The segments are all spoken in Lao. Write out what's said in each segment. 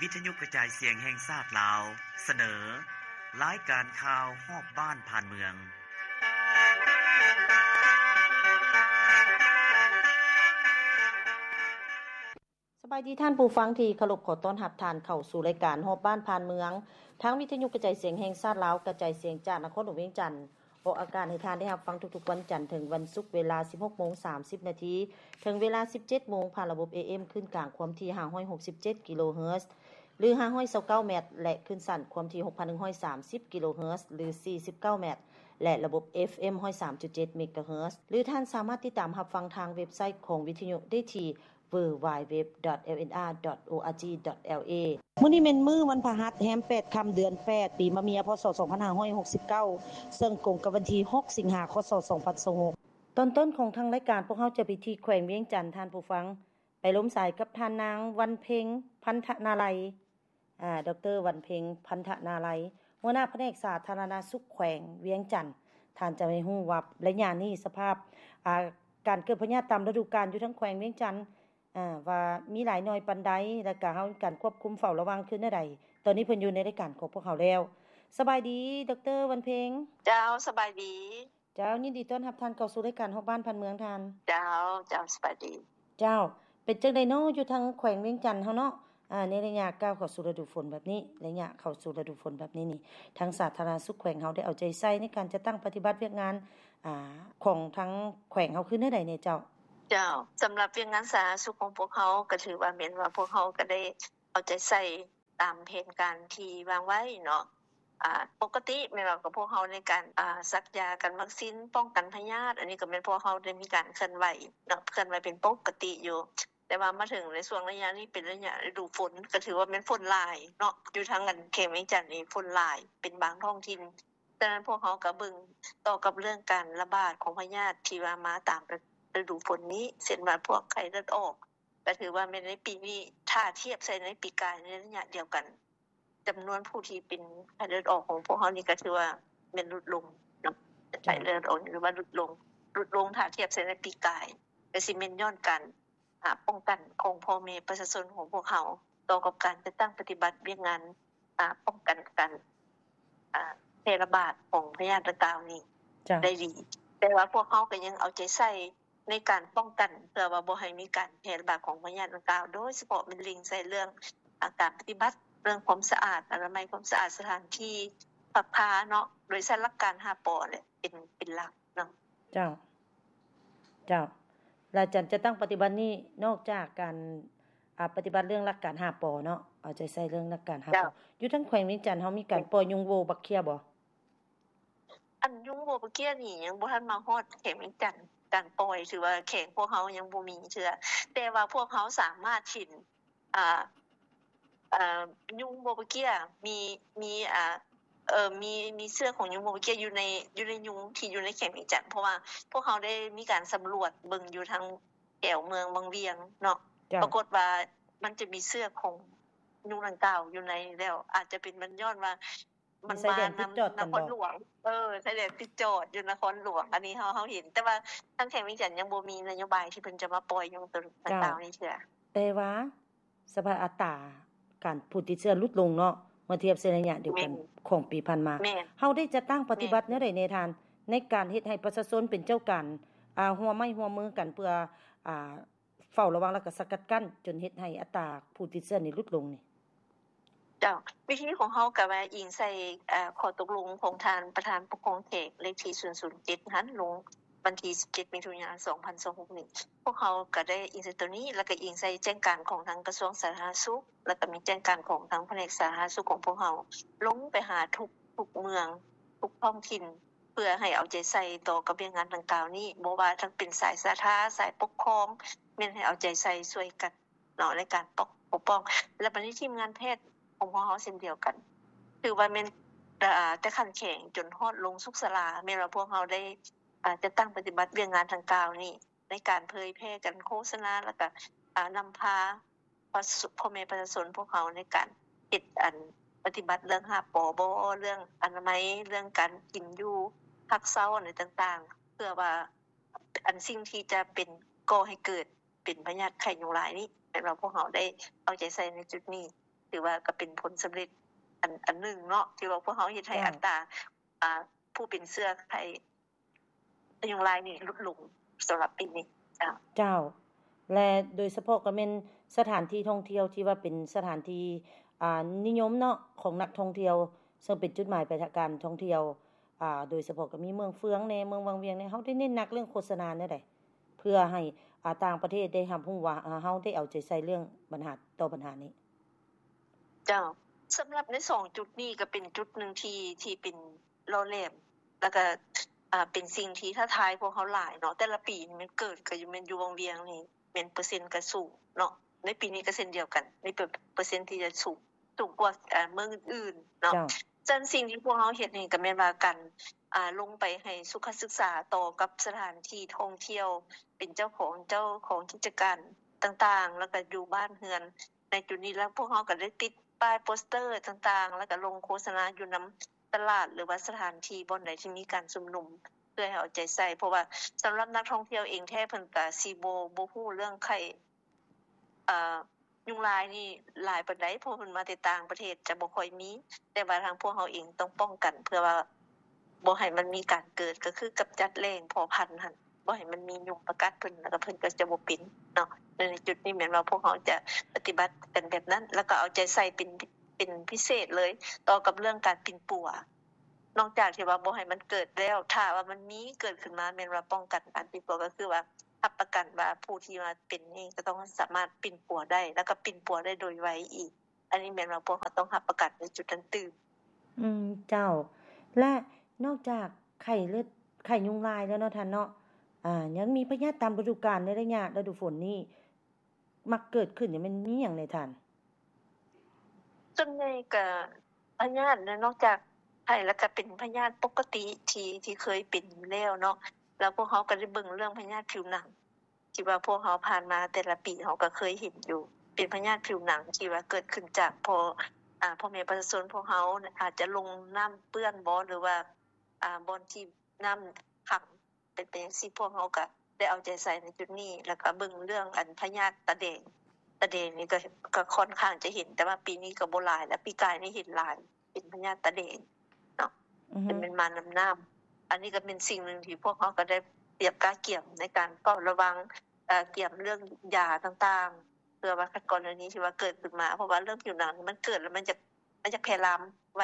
ວິທະຍຸກະຈາຍສຽງແຫ່ງຊາດລາວ ສະເໜີ ລາຍການຂ່າວຮອບບ້ານຜ່ານເມືອງ. ສະບາຍດີທ່ານຜູ້ຟັງທີ່ເຄົາລົບ, ຂໍຕ້ອນຮັບທ່ານເຂົ້າສູ່ລາຍການຮອບບ້ານຜ່ານເມືອງ ທາງວິທະຍຸກະຈາຍສຽງແຫ່ງຊາດລາວ ກະຈາຍສຽງຈາກນະຄອນຫຼວງວຽງຈັນ. ອອກອາກາດໃຫ້ທ່ານໄດ້ຮັບຟັງທຸກໆວັນຈັນເຖິງວັນສຸກ ເວລາສິບຫົກໂມງສາມສິບນາທີ ເຖິງເວລາສິບເຈັດໂມງ ຜ່ານລະບົບ ເອເອັມ ຄື້ນກາງຄວາມຖີ່ຫ້າຮ້ອຍຫົກສິບເຈັດກິໂລເຮີດ ຫຼື ຫ້າຮ້ອຍຊາວເກົ້າແມັດ ແລະ ຄື້ນສັ້ນຄວາມຖີ່ຫົກພັນໜຶ່ງຮ້ອຍສາມສິບກິໂລເຮີດ ຫຼື ສີ່ສິບເກົ້າແມັດ ແລະ ລະບົບ ເອຟເອັມ ຮ້ອຍສາມຈຸດເຈັດເມກາເຮີດ ຫຼື ທ່ານສາມາດຕິດຕາມຮັບຟັງທາງເວັບໄຊຂອງວິທະຍຸໄດ້ທີ່ ดัບເບິນຢູດັບເບິນຢູດັບເບິນຢູດັບເບິນຢູ ດອດ ເອລເອັນອາ ດອດ ໂອອາຈີ ດອດ ແອລເອ ມື້ນີ້ແມ່ນມື້ວັນພະຫັດ ແຮມແປດຄ່ຳ ເດືອນແປດ ປີມະເມີຍ ພ.ສອງພັນຫ້າຮ້ອຍຫົກສິບເກົ້າ ເຊິ່ງກົງກັບວັນທີຫົກ ສິງຫາ ຄ.ສ. ສອງພັນຊາວຫົກ. ຕອນຕົ້ນຂອງທາງລາຍການ ພວກເຮົາຈະໄປທີ່ແຂວງວຽງຈັນ ທ່ານຜູ້ຟັງ, ໄປລົມສາຍກັບທ່ານນາງ ວັນເພັງ ພັນທະນາໄລ ອາ ດອກເຕີ ວັນເພັງ ພັນທະນາໄລ ຫົວໜ້າພະແນກສາທາລະນະສຸກແຂວງວຽງຈັນ. ທ່ານຈະໃຫ້ຮູ້ວ່າໄລຍະນີ້ສະພາບ ອາ ການເກີດພະຍາດຕາມລະດູການຢູ່ທາງແຂວງວຽງຈັນ ອາ ວ່າມີຫຼາຍໜ້ອຍປານໃດ ແລະກະເຮົາການຄວບຄຸມເຝົ້າລະວັງຄືແນວໃດ. ຕອນນີ້ເພິ່ນຢູ່ໃນລາຍການຂອງພວກເຮົາແລ້ວ. ສະບາຍດີ ດອກເຕີ ວັນເພັງ. ເຈົ້າ ສະບາຍດີ. ເຈົ້າ ຍິນດີຕ້ອນຮັບທ່ານເຂົ້າສູ່ລາຍການຮອບບ້ານຜ່ານເມືອງທ່ານ. ເຈົ້າ ເຈົ້າ ສະບາຍດີ. ເຈົ້າ ເປັນຈັ່ງໃດເນາະ ຢູ່ທາງແຂວງວຽງຈັນເຮົາເນາະ ອາ ໃນໄລຍະກ້າວເຂົ້າສູ່ລະດູຝົນແບບນີ້ ໄລຍະເຂົ້າສູ່ລະດູຝົນແບບນີ້ນີ້ ທາງສາທາລະນະສຸກແຂວງເຮົາໄດ້ເອົາໃຈໃສ່ໃນການຈັດຕັ້ງປະຕິບັດວຽກງານ ອາ ຂອງທາງແຂວງເຮົາຄືແນວໃດແດ່ເຈົ້າ? ເຈົ້າ ສຳລັບວຽກງານສາທາລະນະສຸກຂອງພວກເຮົາ ກໍຖືວ່າແມ່ນວ່າພວກເຮົາກໍໄດ້ເອົາໃຈໃສ່ຕາມແຜນການທີ່ວາງໄວ້ເນາະ. ອາ ປົກກະຕິແມ່ນວ່າກັບພວກເຮົາໃນການ ອາ ສັກຢາກັນວັກຊີນປ້ອງກັນພະຍາດ ອັນນີ້ກໍແມ່ນພວກເຮົາໄດ້ມີການເຄື່ອນໄຫວເນາະ ເຄື່ອນໄຫວເປັນປົກກະຕິຢູ່. ແຕ່ວ່າມາເຖິງໃນຊ່ວງໄລຍະນີ້ເປັນໄລຍະລະດູຝົນ ກໍຖືວ່າແມ່ນຝົນຫຼາຍເນາະ ຢູ່ທາງອັນແຂວງວຽງຈັນນີ້ຝົນຫຼາຍເປັນບາງທ້ອງຖິ່ນ. ສະນັ້ນພວກເຮົາກໍເບິ່ງຕໍ່ກັບເລື່ອງການລະບາດຂອງພະຍາດທີ່ວ່າມາຕາມລະດູຝົນນີ້ ເຊັ່ນວ່າພວກໄຂ້ເລືອດອອກ ກໍຖືວ່າແມ່ນໃນປີນີ້ ຖ້າທຽບໃສ່ໃນປີກາຍໃນໄລຍະດຽວກັນ ຈຳນວນຜູ້ທີ່ເປັນໄຂ້ເລືອດອອກຂອງພວກເຮົານີ້ກໍຖືວ່າແມ່ນຫຼຸດລົງເນາະ ເຈົ້າ ໄຂ້ເລືອດອອກນີ້ຖືວ່າຫຼຸດລົງ ຫຼຸດລົງຖ້າທຽບໃສ່ໃນປີກາຍ ກໍຊິແມ່ນຍ້ອນການ ອາ ປ້ອງກັນຂອງພໍ່ແມ່ປະຊາຊົນຂອງພວກເຮົາ ຕໍ່ກັບການຈັດຕັ້ງປະຕິບັດວຽກງານ ອາ ປ້ອງກັນການ ອາ ແຜ່ລະບາດຂອງພະຍາດດັ່ງກ່າວນີ້ ເຈົ້າ ໄດ້ດີ. ແຕ່ວ່າພວກເຮົາກໍຍັງເອົາໃຈໃສ່ ໃນການປ້ອງກັນ ເພື່ອວ່າບໍ່ໃຫ້ມີການແຜ່ລະບາດຂອງພະຍາດດັ່ງກ່າວ ໂດຍສະເພາະແມ່ນເລັ່ງໃສ່ເລື່ອງ ອາ ການປະຕິບັດເລື່ອງຄວາມສະອາດ ອະນາໄມຄວາມສະອາດ ສະຖານທີ່ພັກພາເນາະ ໂດຍໃຊ້ຫຼັກການຫ້າ ປ ແຫຼະ ເປັນ ເປັນຫຼັກເນາະ. ເຈົ້າ ເຈົ້າ ແລະ ການຈັດຕັ້ງປະຕິບັດນີ້ ນອກຈາກການ ອາ ປະຕິບັດເລື່ອງຫຼັກການ ຫ້າ ປ ເນາະ ເອົາໃຈໃສ່ເລື່ອງຫຼັກການ ຫ້າ ປ ເຈົ້າ ຢູ່ທາງແຂວງວຽງຈັນເຮົາມີການປ່ອຍຍຸງໂວບັກເຂ້ຍບໍ່? ອັນຍຸງໂວບັກເຂ້ຍນີ້ຍັງບໍ່ທັນມາຮອດແຂວງວຽງຈັນ ການປ່ອຍຖືວ່າແຂວງພວກເຮົາຍັງບໍ່ມີເທື່ອ ແຕ່ວ່າພວກເຮົາສາມາດເຫັນ ອ່າ ເອີ ຍຸງໂວບັກເຂ້ຍ ມີ ມີ ອ່າ ເອີ ມີ ມີເຊື້ອຂອງຍຸງໂວບັກເຂ້ຍຢູ່ໃນ ຢູ່ໃນຍຸງທີ່ຢູ່ໃນແຂວງວຽງຈັນ ເພາະວ່າພວກເຮົາໄດ້ມີການສຳຫຼວດເບິ່ງຢູ່ທາງແຖວເມືອງວັງວຽງເນາະ ເຈົ້າ ປາກົດວ່າມັນຈະມີເຊື້ອຂອງຍຸງດັ່ງກ່າວຢູ່ໃນ ແລ້ວອາດຈະເປັນມັນຍ້ອນວ່າ ມັນມານຳນະຄອນຫຼວງ ເອີ ຊາຍແດນຕິດຈອດຢູ່ນະຄອນຫຼວງ ອັນນີ້ເຮົາ ເຮົາເຫັນ ແຕ່ວ່າທາງແຂວງວຽງຈັນຍັງບໍ່ມີນະໂຍບາຍທີ່ເພິ່ນຈະມາປ່ອຍຍຸງໂຕດັ່ງກ່າວນີ້ເທື່ອ. ເຈົ້າ ແຕ່ວ່າສະພາບອັດຕາການຜູ້ຕິດເຊື້ອຫຼຸດລົງເນາະ ເມື່ອທຽບໃສ່ໄລຍະດຽວກັນ ແມ່ນ ຂອງປີຜ່ານມາ ແມ່ນ ເຮົາໄດ້ຈັດຕັ້ງປະຕິບັດ ແມ່ນ ແນວໃດແດ່ທ່ານ ໃນການເຮັດໃຫ້ປະຊາຊົນເປັນເຈົ້າການ ອາ ຮ່ວມໄມ້ຮ່ວມມືກັນເພື່ອ ອາ ເຝົ້າລະວັງ ແລ້ວກໍສະກັດກັ້ນ ຈົນເຮັດໃຫ້ອັດຕາຜູ້ຕິດເຊື້ອນີ້ຫຼຸດລົງນີ້? ເຈົ້າ ວິທີຂອງເຮົາກໍວ່າອີງໃສ່ ເອີ ຂໍ້ຕົກລົງຂອງທ່ານປະທານປົກຄອງແຂວງເລກທີສູນສູນເຈັດຫັ້ນ ລົງວັນທີສິບເຈັດ ມິຖຸນາ ສອງພັນຊາວຫົກນີ້ ພວກເຮົາກໍໄດ້ອີງໃສ່ໂຕນີ້ ແລ້ວກໍອີງໃສ່ແຈ້ງການຂອງທາງກະຊວງສາທາລະນະສຸກ ແລ້ວກໍມີແຈ້ງການຂອງທາງພະແນກສາທາລະນະສຸກຂອງພວກເຮົາ ລົງໄປຫາທຸກ ທຸກເມືອງ ທຸກທ້ອງຖິ່ນ ເພື່ອໃຫ້ເອົາໃຈໃສ່ຕໍ່ກັບວຽກງານດັ່ງກ່າວນີ້ ບໍ່ວ່າທັງເປັນສາຍສາທາ ສາຍປົກຄອງ ແມ່ນໃຫ້ເອົາໃຈໃສ່ຊ່ວຍກັນເນາະ ໃນການປົກ ປົກປ້ອງ ແລະ ບັດນີ້ທີມງານແພດຂອງພວກເຮົາເຊັ່ນດຽວກັນ ຖືວ່າແມ່ນ ເອີ ແຕ່ຂັ້ນແຂວງຈົນຮອດລົງສຸກສາລາ ແມ່ນວ່າພວກເຮົາໄດ້ ເອີ ຈັດຕັ້ງປະຕິບັດວຽກງານດັ່ງກ່າວນີ້ ໃນການເຜີຍແຜ່ ການໂຄສະນາ ແລ້ວກະ ເອີ ນຳພາ ພໍ່ແມ່ປະຊາຊົນພວກເຮົາໃນການເຮັດ ອັນ ປະຕິບັດເລື່ອງຫ້າ ປ ບໍ່ ເລື່ອງອະນາໄມ ເລື່ອງການກິນຢູ່ ພັກເຊົາ ອັນໃດຕ່າງໆ ເພື່ອວ່າ ອັນ ສິ່ງທີ່ຈະເປັນ ກໍ່ໃຫ້ເກີດເປັນພະຍາດໄຂ້ຍຸງລາຍນີ້ ແມ່ນວ່າພວກເຮົາໄດ້ເອົາໃຈໃສ່ໃນຈຸດນີ້ ຖືວ່າກໍເປັນຜົນສຳເລັດອັນ ອັນໜຶ່ງເນາະ ທີ່ວ່າພວກເຮົາເຮັດໃຫ້ ເຈົ້າ ອັດຕາ ອ່າ ຜູ້ເປັນເຊື້ອໄຂ້ຍຸງລາຍນີ້ຫຼຸດລົງສຳລັບປີນີ້. ເຈົ້າ ເຈົ້າ ແລະ ໂດຍສະເພາະກໍແມ່ນສະຖານທີ່ທ່ອງທ່ຽວທີ່ວ່າເປັນສະຖານທີ່ ອ່າ ນິຍົມເນາະ ຂອງນັກທ່ອງທ່ຽວ ເຊິ່ງເປັນຈຸດໝາຍປາຍທາງການທ່ອງທ່ຽວ ອ່າ ໂດຍສະເພາະກໍມີເມືອງເຟືອງແດ່ ເມືອງວັງວຽງແດ່ ເຮົາໄດ້ເນັ້ນໜັກເລື່ອງໂຄສະນາແນວໃດ ເພື່ອໃຫ້ ອ່າ ຕ່າງປະເທດໄດ້ຮັບຮູ້ວ່າ ເຮົາໄດ້ເອົາໃຈໃສ່ເລື່ອງບັນຫາ ຕໍ່ບັນຫານີ້? ເຈົ້າ ສຳລັບໃນສອງຈຸດນີ້ກໍເປັນຈຸດໜຶ່ງທີ່ ທີ່ເປັນຫຼໍ່ແຫຼມ ແລ້ວກໍ ອ່າ ເປັນສິ່ງທີ່ທ້າທາຍພວກເຮົາຫຼາຍເນາະ. ແຕ່ລະປີນີ້ແມ່ນເກີດກໍຢູ່ ແມ່ນຢູ່ວັງວຽງນີ້ແມ່ນເປີເຊັນກໍສູງເນາະ. ໃນປີນີ້ກໍເຊັ່ນດຽວກັນ ໃນເປີ ເປີເຊັນທີ່ຈະສູງ ສູງກວ່າ ເອີ ເມືອງອື່ນໆເນາະ. ເຈົ້າ ສະນັ້ນສິ່ງທີ່ພວກເຮົາເຮັດນີ້ກໍແມ່ນວ່າການ ອ່າ ລົງໄປໃຫ້ສຸຂະສຶກສາຕໍ່ກັບສະຖານທີ່ທ່ອງທ່ຽວ ເປັນເຈົ້າຂອງ ເຈົ້າຂອງກິດຈະການຕ່າງໆ ແລ້ວກໍຢູ່ບ້ານເຮືອນໃນຈຸດນີ້. ແລ້ວພວກເຮົາກໍໄດ້ຕິດປ້າຍໂປສເຕີຕ່າງໆ ແລ້ວກໍລົງໂຄສະນາຢູ່ນຳຕະຫຼາດ ຫຼືວ່າສະຖານທີ່ບ່ອນໃດທີ່ມີການຊຸມນຸມ ເພື່ອໃຫ້ເອົາໃຈໃສ່ ເພາະວ່າສຳລັບນັກທ່ອງທ່ຽວເອງແທ້ ເພິ່ນກໍຊິບໍ່ ບໍ່ຮູ້ເລື່ອງໄຂ້ ເອີ ຍຸງລາຍນີ້ຫຼາຍປານໃດ ເພາະເພິ່ນມາແຕ່ຕ່າງປະເທດຈະບໍ່ຄ່ອຍມີ, ແຕ່ວ່າທາງພວກເຮົາເອງຕ້ອງປ້ອງກັນ ເພື່ອວ່າບໍ່ໃຫ້ມັນມີການເກີດ ກໍຄືກຳຈັດແຫຼ່ງເພາະພັນຫັ້ນ ບໍ່ໃຫ້ມັນມີຍຸງມາກັດເພິ່ນ ແລ້ວກໍເພິ່ນກໍຈະບໍ່ເປັນເນາະ. ໃນຈຸດນີ້ແມ່ນວ່າພວກເຮົາຈະປະຕິບັດກັນແບບນັ້ນ ແລ້ວກໍເອົາໃຈໃສ່ເປັນ ເປັນພິເສດເລີຍ ຕໍ່ກັບເລື່ອງການປິ່ນປົວ. ນອກຈາກທີ່ວ່າບໍ່ໃຫ້ມັນເກີດແລ້ວ ຖ້າວ່າມັນມີເກີດຂຶ້ນມາ ແມ່ນວ່າປ້ອງກັນການປິ່ນປົວ ກໍຄືວ່າຮັບປະກັນວ່າຜູ້ທີ່ວ່າເປັນນີ້ກໍຕ້ອງສາມາດປິ່ນປົວໄດ້ ແລ້ວກໍປິ່ນປົວໄດ້ໂດຍໄວອີກ. ອັນນີ້ແມ່ນວ່າພວກເຮົາຕ້ອງຮັບປະກັນໃນຈຸດນັ້ນຕື່ມ. ອືມ ເຈົ້າ. ແລະ ນອກຈາກໄຂ້ເລືອດ ໄຂ້ຍຸງລາຍແລ້ວເນາະທ່ານເນາະ, ອ່າ ຍັງມີພະຍາດຕາມລະດູການໃນໄລຍະລະດູຝົນນີ້ ມັກເກີດຂຶ້ນນີ້ ແມ່ນມີຫຍັງແດ່ທ່ານ? ສ່ວນໃຫຍ່ກະພະຍາດ ນອກຈາກໄຂ້ແລ້ວກະເປັນພະຍາດປົກກະຕິທີ່ ທີ່ເຄີຍເປັນຢູ່ແລ້ວເນາະ, ແລ້ວພວກເຮົາກະໄດ້ເບິ່ງເລື່ອງພະຍາດຜິວໜັງ ທີ່ວ່າພວກເຮົາຜ່ານມາແຕ່ລະປີເຮົາກະເຄີຍເຫັນຢູ່ ເປັນພະຍາດຜິວໜັງທີ່ວ່າເກີດຂຶ້ນຈາກພໍ່ ອາ ພໍ່ແມ່ປະຊາຊົນພວກເຮົາອາດຈະລົງນ້ຳເປື້ອນບໍ ຫຼືວ່າ ອາ ບ່ອນທີ່ນ້ຳຂັງ ເປັນໄປຈັ່ງຊີ້ ພວກເຮົາກະໄດ້ເອົາໃຈໃສ່ໃນຈຸດນີ້ ແລ້ວກະເບິ່ງເລື່ອງອັນພະຍາດຕາແດງ. ຕາແດງນີ້ກະ ກະຂ້ອນຂ້າງຈະເຫັນ ແຕ່ວ່າປີນີ້ກະບໍ່ຫຼາຍແລ້ວ, ປີກາຍນີ້ເຫັນຫຼາຍ ເປັນພະຍາດຕາແດງເນາະ ອືຮຶ ແຕ່ແມ່ນມານຳນ້ຳ. ອັນນີ້ກະເປັນສິ່ງໜຶ່ງທີ່ພວກເຮົາກະໄດ້ຕຽມກະກຽມໃນການເຝົ້າລະວັງ ເອີ ກຽມເລື່ອງຢາຕ່າງໆ ເພື່ອວ່າຄັນກໍລະນີທີ່ວ່າເກີດຂຶ້ນມາ ເພາະວ່າເລື່ອງຜິວໜັງນີ້ມັນເກີດແລ້ວມັນຈະ ມັນຈະແຜ່ລາມໄວ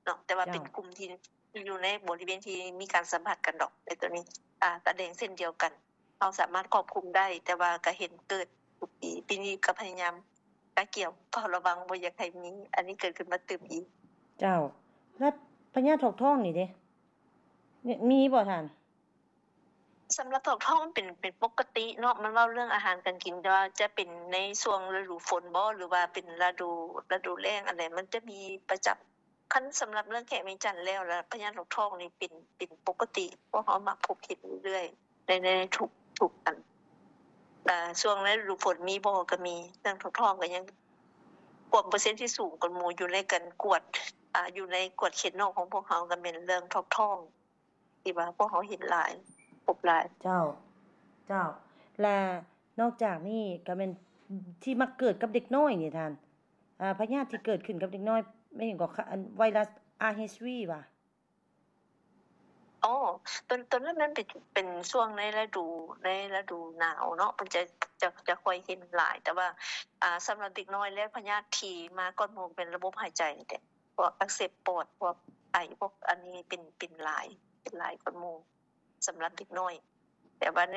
ເນາະ ແຕ່ວ່າ ເຈົ້າ ເປັນກຸ່ມທີ່ ທີ່ຢູ່ໃນບໍລິເວນທີ່ມີການສຳຜັດກັນດອກ ໃນໂຕນີ້ ອາ ຕາແດງເຊັ່ນດຽວກັນ ເຮົາສາມາດຄວບຄຸມໄດ້ ແຕ່ວ່າກະເຫັນເກີດທຸກປີ. ປີນີ້ກະພະຍາຍາມກະກຽມເຝົ້າລະວັງ ບໍ່ຢາກໃຫ້ມີອັນນີ້ເກີດຂຶ້ນມາຕື່ມອີກ. ເຈົ້າ ແລະ ພະຍາດຖອກທ້ອງນີ້ເດ ມີ ມີບໍ່ທ່ານ? ສຳລັບຖອກທ້ອງເປັນ ເປັນປົກກະຕິເນາະ ມັນເວົ້າເລື່ອງອາຫານການກິນ ແຕ່ວ່າຈະເປັນໃນຊ່ວງລະດູຝົນບໍ ຫຼືວ່າເປັນລະດູ ລະດູແລ້ງ ອັນໃດມັນຈະມີປະຈຳ. ຄັນສຳລັບເລື່ອງແຂວງວຽງຈັນແລ້ວລະ ພະຍາດຖອກທ້ອງນີ້ເປັນ ເປັນປົກກະຕິ ພວກເຮົາມັກພົບເຫັນເລື້ອຍໆ ໃນ ໃນທຸກ ທຸກອັນ ອາ ຊ່ວງລະດູຝົນມີບໍ່ ກະມີ ເລື່ອງຖອກທ້ອງກະຍັງ ພວກເປີເຊັນທີ່ສູງກວ່າໝູ່ຢູ່ໃນການກວດ ອາ ຢູ່ໃນກວດເຂດນອກຂອງພວກເຮົາ ກະແມ່ນເລື່ອງຖອກທ້ອງ ທີ່ວ່າພວກເຮົາເຫັນຫຼາຍ ພົບຫຼາຍ. ເຈົ້າ ເຈົ້າ ແລະ ນອກຈາກນີ້ກະແມ່ນທີ່ມັກເກີດກັບເດັກນ້ອຍນີ້ທ່ານ ອາ ພະຍາດທີ່ເກີດຂຶ້ນກັບເດັກນ້ອຍ ແມ່ນຫຍັງກໍ ໄວຣັສ ອາ ເອັດ ວີ ຫວາ? ອໍ ໂຕ ໂຕນັ້ນມັນເປັນ ເປັນຊ່ວງໃນລະດູ ໃນລະດູໜາວເນາະ ເພິ່ນຈະ ຈະ ຈະຄ່ອຍເຫັນຫຼາຍ ແຕ່ວ່າ ອາ ສຳລັບເດັກນ້ອຍແລ້ວ ພະຍາດທີ່ມາກ່ອນໝູ່ເປັນລະບົບຫາຍໃຈນີ້ແຫຼະ ພວກອັກເສບປອດ ພວກໄອ ພວກອັນນີ້ເປັນ ເປັນຫຼາຍ ເປັນຫຼາຍກ່ອນໝູ່ ສຳລັບເດັກນ້ອຍ. ແຕ່ວ່າໃນ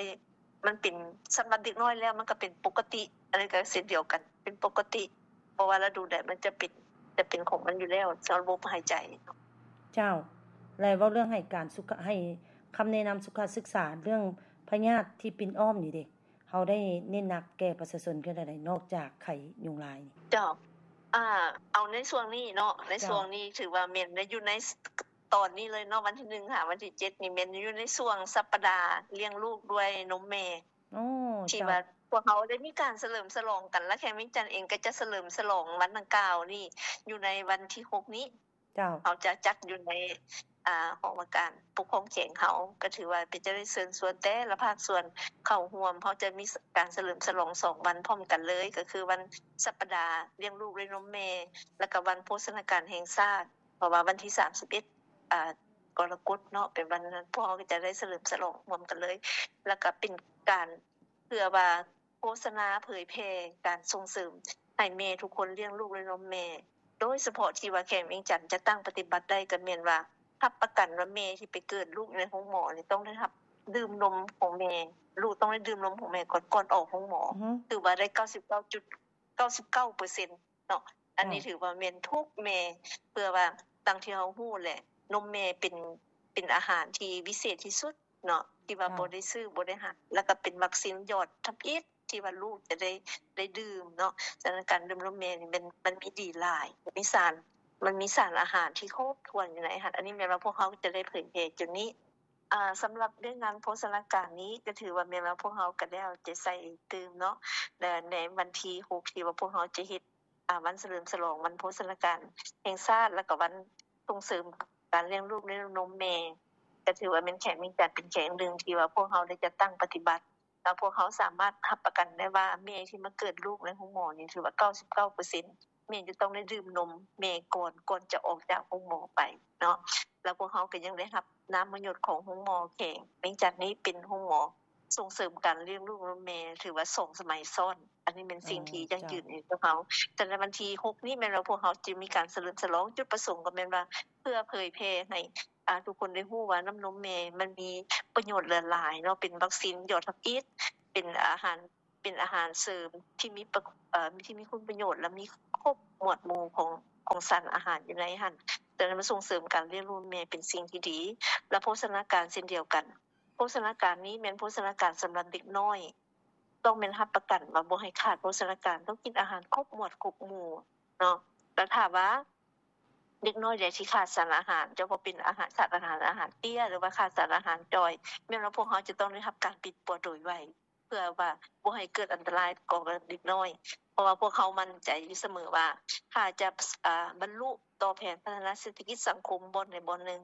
ມັນເປັນ ສຳລັບເດັກນ້ອຍແລ້ວມັນກະເປັນປົກກະຕິ ອັນນີ້ກະເຊັ່ນດຽວກັນ ເປັນປົກກະຕິ ບໍ່ວ່າລະດູໃດມັນຈະເປັນ ຈະເປັນຂອງມັນຢູ່ແລ້ວ ສຳລັບລະບົບຫາຍໃຈ. ເຈົ້າ ແລະ ເວົ້າເລື່ອງໃຫ້ການສຸຂະ ໃຫ້ຄຳແນະນຳສຸຂະສຶກສາເລື່ອງພະຍາດທີ່ປິ່ນອ້ອມນີ້ເດ ເຮົາໄດ້ເນັ້ນໜັກແກ່ປະຊາຊົນຄືໃດ ນອກຈາກໄຂ້ຍຸງລາຍນີ້? ເຈົ້າ ອາ ເອົາໃນຊ່ວງນີ້ເນາະ ໃນ ເຈົ້າ ຊ່ວງນີ້ຖືວ່າແມ່ນໄດ້ຢູ່ໃນຕອນນີ້ເລີຍເນາະ ວັນທີໜຶ່ງຫາວັນທີເຈັດນີ້ແມ່ນຢູ່ໃນຊ່ວງສັບປະດາລ້ຽງລູກດ້ວຍນົມແມ່ ໂອ້ ທີ່ ເຈົ້າ ວ່າພວກເຮົາໄດ້ມີການສະເຫຼີມສະຫຼອງກັນ ແລະ ແຂວງວຽງຈັນເອງກະຈະສະເຫຼີມສະຫຼອງວັນດັ່ງກ່າວນີ້ຢູ່ໃນວັນທີຫົກນີ້. ເຈົ້າ ເຮົາຈະຈັດຢູ່ໃນ ອ່າ ຫ້ອງວ່າການປົກຄອງແຂວງເຮົາ ກໍຖືວ່າເປັນຈະໄດ້ເຊີນຊວນແຕ່ລະພາກສ່ວນເຂົ້າຮ່ວມ. ເຮົາຈະມີການສະເຫຼີມສະຫຼອງສອງວັນພ້ອມກັນເລີຍ ກໍຄືວັນສັບປະດາລ້ຽງລູກດ້ວຍນົມແມ່ ແລ້ວກໍວັນໂພຊະນາການແຫ່ງຊາດ ເພາະວ່າວັນທີສາມສິບເອັດ ອ່າ ກໍລະກົດເນາະ ເປັນວັນນັ້ນ ພວກເຮົາກໍຈະໄດ້ສະເຫຼີມສະຫຼອງຮ່ວມກັນເລີຍ ແລ້ວກໍເປັນການເພື່ອວ່າ ໂຄສະນາເຜີຍແຜ່ການສົ່ງເສີມໃຫ້ແມ່ທຸກຄົນລ້ຽງລູກດ້ວຍນົມແມ່ ໂດຍສະເພາະທີ່ວ່າແຂວງວຽງຈັນຈະຕັ້ງປະຕິບັດໄດ້ ກໍແມ່ນວ່າຮັບປະກັນວ່າແມ່ທີ່ໄປເກີດລູກໃນໂຮງໝໍນີ້ຕ້ອງໄດ້ຮັບດື່ມນົມຂອງແມ່ ລູກຕ້ອງໄດ້ດື່ມນົມຂອງແມ່ກ່ອນ ກ່ອນອອກໂຮງໝໍ ອືຮຶ ຖືວ່າໄດ້ເກົ້າສິບເກົ້າຈຸດເກົ້າສິບເກົ້າເປີເຊັນເນາະ ອັນນີ້ ເຈົ້າ ຖືວ່າແມ່ນທຸກແມ່ ເພື່ອວ່າ ດັ່ງທີ່ເຮົາຮູ້ແຫຼະ ນົມແມ່ເປັນ ເປັນອາຫານທີ່ວິເສດທີ່ສຸດ ເນາະ ທີ່ວ່າ ເຈົ້າ ບໍ່ໄດ້ຊື້ ບໍ່ໄດ້ຫາ ແລ້ວກໍເປັນວັກຊີນຍອດທຳອິດທີ່ວ່າລູກຈະໄດ້ ໄດ້ດື່ມເນາະ. ສະນັ້ນການດື່ມນົມແມ່ນີ້ມັນ ມັນມີດີຫຼາຍ ມີສານ ມັນມີສານອາຫານທີ່ຄົບຖ້ວນຢູ່ໃນຫັ້ນ. ອັນນີ້ແມ່ນວ່າພວກເຮົາຈະໄດ້ເຜີຍແຜ່ຈຸດນີ້. ອ່າ ສຳລັບວຽກງານໂພຊະນາການນີ້ ກໍຖືວ່າແມ່ນວ່າພວກເຮົາກໍໄດ້ເອົາໃຈໃສ່ຕື່ມເນາະ ແລະ ໃນວັນທີຫົກ ທີ່ວ່າພວກເຮົາຈະເຮັດ ອ່າ ວັນສະເຫຼີມສະຫຼອງວັນໂພຊະນາການແຫ່ງຊາດ ແລ້ວກໍວັນສົ່ງເສີມການລ້ຽງລູກດ້ວຍນົມແມ່ ກໍຖືວ່າແມ່ນແຂວງວຽງຈັນເປັນແຂວງໜຶ່ງທີ່ວ່າພວກເຮົາໄດ້ຈັດຕັ້ງປະຕິບັດ ແລ້ວພວກເຮົາສາມາດຮັບປະກັນໄດ້ວ່າແມ່ທີ່ມາເກີດລູກໃນໂຮງໝໍນີ້ຖືວ່າເກົ້າສິບເກົ້າເປີເຊັນ ແມ່ນຈະຕ້ອງໄດ້ດື່ມນົມແມ່ກ່ອນ ກ່ອນຈະອອກຈາກໂຮງໝໍໄປເນາະ. ແລ້ວພວກເຮົາກໍຍັງໄດ້ຮັບນາມມະຍົດຂອງໂຮງໝໍແຂວງວຽງຈັນນີ້ເປັນໂຮງໝໍ ສົ່ງເສີມການລ້ຽງລູກນຳແມ່ ຖືວ່າສອງສະໄໝຊ້ອນ. ອັນນີ້ແມ່ນສິ່ງທີ່ ອໍ ເຈົ້າ ຢັ້ງຢືນໃຫ້ພວກເຮົາ. ແຕ່ໃນວັນທີຫົກນີ້ແມ່ນວ່າພວກເຮົາຈະມີການສະເຫຼີມສະຫຼອງ, ຈຸດປະສົງກໍແມ່ນວ່າເພື່ອເຜີຍແຜ່ໃຫ້ ອ່າ ທຸກຄົນໄດ້ຮູ້ວ່ານ້ຳນົມແມ່ມັນມີປະໂຫຍດຫຼາຍໆເນາະ, ເປັນວັກຊີນຍອດທຳອິດ, ເປັນອາຫານ ເປັນອາຫານເສີມທີ່ມີປະ ເອີ ທີ່ມີຄຸນປະໂຫຍດ ແລະ ມີຄົບໝວດໝູ່ຂອງ ຂອງສານອາຫານຢູ່ໃນຫັ້ນ. ສະນັ້ນ ມາສົ່ງເສີມການລ້ຽງລູກແມ່ເປັນສິ່ງທີ່ດີ ແລະ ໂພຊະນາການເຊັ່ນດຽວກັນ. ໂພຊະນາການນີ້ແມ່ນໂພຊະນາການສຳລັບເດັກນ້ອຍ, ຕ້ອງແມ່ນຮັບປະກັນວ່າບໍ່ໃຫ້ຂາດໂພຊະນາການ, ຕ້ອງກິນອາຫານຄົບໝວດຄົບໝູ່ເນາະ. ແລ້ວຖ້າວ່າເດັກນ້ອຍໃດທີ່ຂາດສານອາຫານ, ເຈົ້າວ່າເປັນອາຫານ ຂາດອາຫານ ອາຫານເຕ້ຍ ຫຼືວ່າຂາດສານອາຫານຈ່ອຍ, ແມ່ນວ່າພວກເຮົາຈະຕ້ອງໄດ້ຮັບການປິດປົວໂດຍໄວ ເພື່ອວ່າບໍ່ໃຫ້ເກີດອັນຕະລາຍຕໍ່ເດັກນ້ອຍ, ເພາະວ່າພວກເຮົາໝັ້ນໃຈຢູ່ສະເໝີວ່າ ຖ້າຈະ ອາ ບັນລຸຕໍ່ແຜນພັດທະນາເສດຖະກິດສັງຄົມບ່ອນໃດບ່ອນໜຶ່ງ,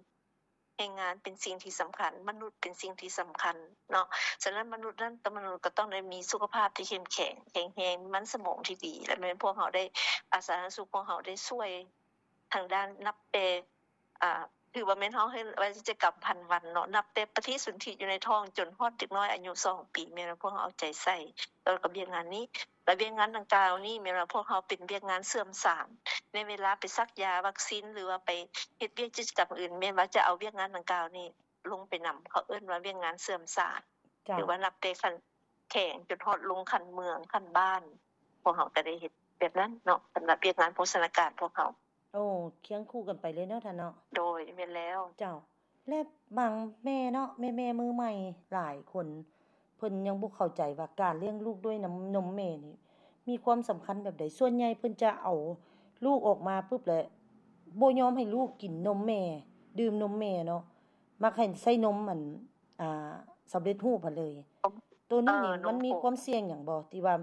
ແຮງງານເປັນສິ່ງທີ່ສຳຄັນ, ມະນຸດເປັນສິ່ງທີ່ສຳຄັນເນາະ. ສະນັ້ນ ມະນຸດນັ້ນ ມະນຸດກໍຕ້ອງໄດ້ມີສຸຂະພາບທີ່ເຂັ້ມແຂງ, ແຂງແຮງ, ມີມັນສະໝອງທີ່ດີ ແລະ ແມ່ນພວກເຮົາໄດ້ ອາ ສາທາລະນະສຸກຂອງເຮົາໄດ້ຊ່ວຍທາງດ້ານ ນັບແຕ່ ອາ ຖືວ່າແມ່ນເຮົາເຮັດວາຈະກຳພັນວັນເນາະ, ນັບແຕ່ປະຕິສົນທິຢູ່ໃນທ້ອງຈົນຮອດເດັກນ້ອຍອາຍຸສອງປີ ແມ່ນວ່າພວກເຮົາເອົາໃຈໃສ່ ແລ້ວກໍວຽກງານນີ້ ແລະ ວຽກງານດັ່ງກ່າວນີ້ແມ່ນວ່າພວກເຮົາເປັນວຽກງານເຊື່ອມສານ ໃນເວລາໄປສັກຢາວັກຊີນ ຫຼືວ່າໄປເຮັດວຽກກິດຈະກຳອື່ນ ແມ່ນວ່າຈະເອົາວຽກງານດັ່ງກ່າວນີ້ລົງໄປນຳ, ເຂົາເອີ້ນວ່າວຽກງານເຊື່ອມສານ ເຈົ້າ ຫຼືວ່ານັບແຕ່ຂັ້ນແຂວງຈົນຮອດລົງຂັ້ນເມືອງ, ຂັ້ນບ້ານ, ພວກເຮົາກໍໄດ້ເຮັດແບບນັ້ນເນາະ ສຳລັບວຽກງານໂພຊະນາການພວກເຮົາ. ໂອ້ ຄຽງຄູ່ກັນໄປເລີຍເນາະທ່ານເນາະ. ໂດຍ ແມ່ນແລ້ວ. ເຈົ້າ ແລະ ບາງແມ່ເນາະ ແມ່ໆມືໃໝ່ຫຼາຍຄົນ ເພິ່ນຍັງບໍ່ເຂົ້າໃຈວ່າການລ້ຽງລູກດ້ວຍນ້ຳນົມແມ່ນີ້ມີຄວາມສຳຄັນແບບໃດ. ສ່ວນໃຫຍ່ເພິ່ນຈະເອົາລູກອອກມາປຶບ ແລະ ບໍ່ຍອມໃຫ້ລູກກິນນົມແມ່, ດື່ມນົມແມ່ເນາະ, ມັກໃຫ້ໃຊ້ນົມອັນ ອ່າ ສຳເລັດຮູບຫັ້ນເລີຍ. ໂຕນີ້ນີ້ ເອີ ມັນມີຄວາມສ່ຽງຫຍັງບໍ່ ທີ່ວ່າ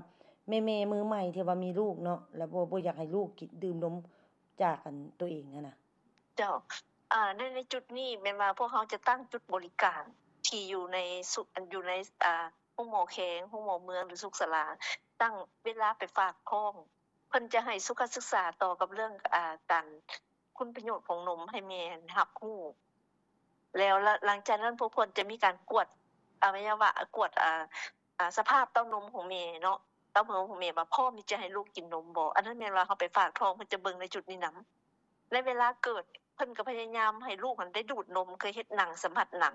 ແມ່ໆມືໃໝ່ທີ່ວ່າມີລູກເນາະ ແລ້ວບໍ່ ບໍ່ຢາກໃຫ້ລູກກິນ ດື່ມນົມຈາກອັນໂຕເອງຫັ້ນນະ? ເຈົ້າ ອາ ໃນ ໃນຈຸດນີ້ແມ່ນວ່າພວກເຮົາຈະຕັ້ງຈຸດບໍລິການທີ່ຢູ່ໃນ ຢູ່ໃນ ອາ ໂຮງໝໍແຂວງ, ໂຮງໝໍເມືອງ ຫຼື ສຸກສາລາ, ຕັ້ງເວລາໄປຝາກທ້ອງ. ເພິ່ນຈະໃຫ້ສຸຂະສຶກສາຕໍ່ກັບເລື່ອງ ອາ ການ ຄຸນປະໂຫຍດຂອງນົມໃຫ້ແມ່ຮັບຮູ້ ແລ້ວ ແລ້ວຫຼັງຈາກນັ້ນພວກເພິ່ນຈະມີການກວດອະໄວຍະວະ ກວດ ອາ ອາ ສະພາບເຕົ້ານົມຂອງແມ່ເນາະ, ເຕົ້ານົມຂອງແມ່ວ່າພ້ອມທີ່ຈະໃຫ້ລູກກິນນົມບໍ່. ອັນນັ້ນແມ່ນວ່າເຮົາໄປຝາກທ້ອງ ເພິ່ນຈະເບິ່ງໃນຈຸດນີ້ນຳ. ໃນເວລາເກີດ ເພິ່ນກໍພະຍາຍາມໃຫ້ລູກຫັ້ນໄດ້ດູດນົມ ຄືເຮັດໜັງສຳຜັດໜັງ.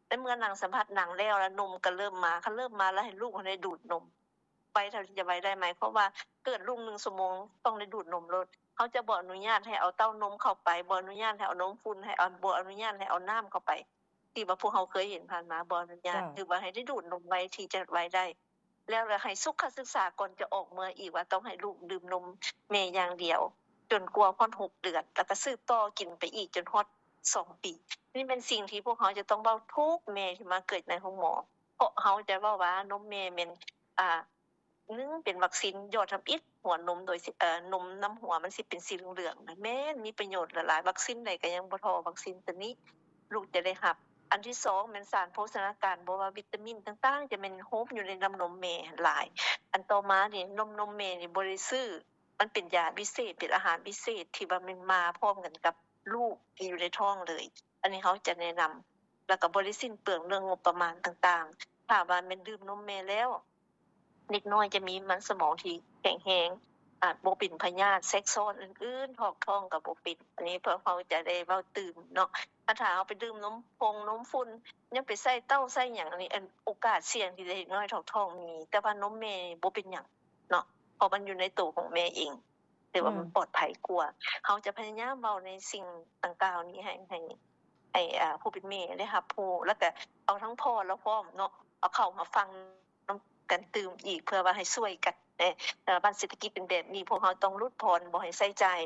ໃນເມື່ອໜັງສຳຜັດໜັງແລ້ວ ແລ້ວນົມກໍເລີ່ມມາ, ຄັນເລີ່ມມາແລ້ວໃຫ້ລູກຫັ້ນໄດ້ດູດນົມ ໄວເທົ່າທີ່ຈະໄວໄດ້ ໝາຍຄວາມວ່າເກີດລູກໜຶ່ງຊົ່ວໂມງຕ້ອງໄດ້ດູດນົມໂລດ. ເຮົາຈະບໍ່ອະນຸຍາດໃຫ້ເອົາເຕົ້ານົມເຂົ້າໄປ, ບໍ່ອະນຸຍາດໃຫ້ເອົານົມຝຸ່ນ, ໃຫ້ເອົາ ບໍ່ອະນຸຍາດໃຫ້ເອົານ້ຳເຂົ້າໄປ ທີ່ວ່າພວກເຮົາເຄີຍເຫັນຜ່ານມາ, ບໍ່ອະນຸຍາດ. ເຈົ້າ. ຖືວ່າໃຫ້ໄດ້ດູດນົມໄວທີ່ຈະໄວໄດ້. ແລ້ວລະໃຫ້ສຸຂະສຶກສາກ່ອນຈະອອກເມືອອີກວ່າຕ້ອງໃຫ້ລູກດື່ມນົມແມ່ຢ່າງດຽວ ຈົນກວ່າຮອດຫົກເດືອນ, ແລ້ວກໍສືບຕໍ່ກິນໄປອີກຈົນຮອດສອງປີ. ນີ້ແມ່ນສິ່ງທີ່ພວກເຮົາຈະຕ້ອງເວົ້າທຸກແມ່ທີ່ມາເກີດໃນໂຮງໝໍ, ເພາະເຮົາຈະເວົ້າວ່ານົມແມ່ແມ່ນ ອາ ໜຶ່ງ ເປັນວັກຊີນຢອດທຳອິດຫົວນົມ ໂດຍ ເອີ ນົມນຳຫົວມັນຊິເປັນສີເຫຼືອງໆນະ, ແມ່ນມີປະໂຫຍດຫຼາຍໆ, ວັກຊີນໃດກໍຍັງບໍ່ທໍ່ວັກຊີນຕົວນີ້. ລູກຈະໄດ້ຮັບ. ອັນທີສອງແມ່ນສານໂພຊະນາການ ບໍ່ວ່າວິຕາມິນຕ່າງໆ ຈະແມ່ນໂຮມຢູ່ໃນນ້ຳນົມແມ່ຫຼາຍ. ອັນຕໍ່ມານີ້ ນົມ ນົມແມ່ນີ້ບໍ່ໄດ້ຊື້ ມັນເປັນຢາພິເສດ ເປັນອາຫານພິເສດທີ່ວ່າແມ່ນມາພ້ອມກັນກັບລູກທີ່ຢູ່ໃນທ້ອງເລີຍ. ອັນນີ້ເຮົາຈະແນະນຳ ແລ້ວກໍບໍ່ໄດ້ສິ້ນເປືອງເລື່ອງງົບປະມານຕ່າງໆ. ຖ້າວ່າແມ່ນດື່ມນົມແມ່ແລ້ວ ເດັກນ້ອຍຈະມີມັນສະໝອງທີ່ແຂງແຮງ ອາດບໍ່ເປັນພະຍາດແຊກຊ້ອນອື່ນໆ ຖອກທ້ອງກໍບໍ່ເປັນ. ອັນນີ້ພວກເຮົາຈະໄດ້ເວົ້າຕື່ມເນາະ. ຖ້າ ຖ້າເຮົາໄປດື່ມນົມຜົງນົມຝຸ່ນ ຍັງໄປໃສ່ເຕົ້າໃສ່ຫຍັງ ອັນນີ້ ອັນ ໂອກາດສ່ຽງທີ່ເດັກນ້ອຍຖອກທ້ອງມີ, ແຕ່ວ່ານົມແມ່ບໍ່ເປັນຫຍັງເນາະ ເພາະມັນຢູ່ໃນໂຕຂອງແມ່ເອງ ຖືວ່າມັນ ອືມ ປອດໄພກວ່າ. ເຮົາຈະພະຍາຍາມເວົ້າໃນສິ່ງດັ່ງກ່າວນີ້ໃຫ້ ໃຫ້ ໃຫ້ ອ່າ ຜູ້ເປັນແມ່ໄດ້ຮັບຮູ້ ແລ້ວກະເອົາທັງພໍ່ລາວພ້ອມເນາະ ເອົາເຂົ້າມາຟັງນຳກັນຕື່ມອີກ ເພື່ອວ່າໃຫ້ຊ່ວຍກັນແດ່. ເອີ ບັດເສດຖະກິດເປັນແບບນີ້ ພວກເຮົາຕ້ອງຫຼຸດຜ່ອນ ບໍ່ໃຫ້ໃຊ້ຈ່າຍ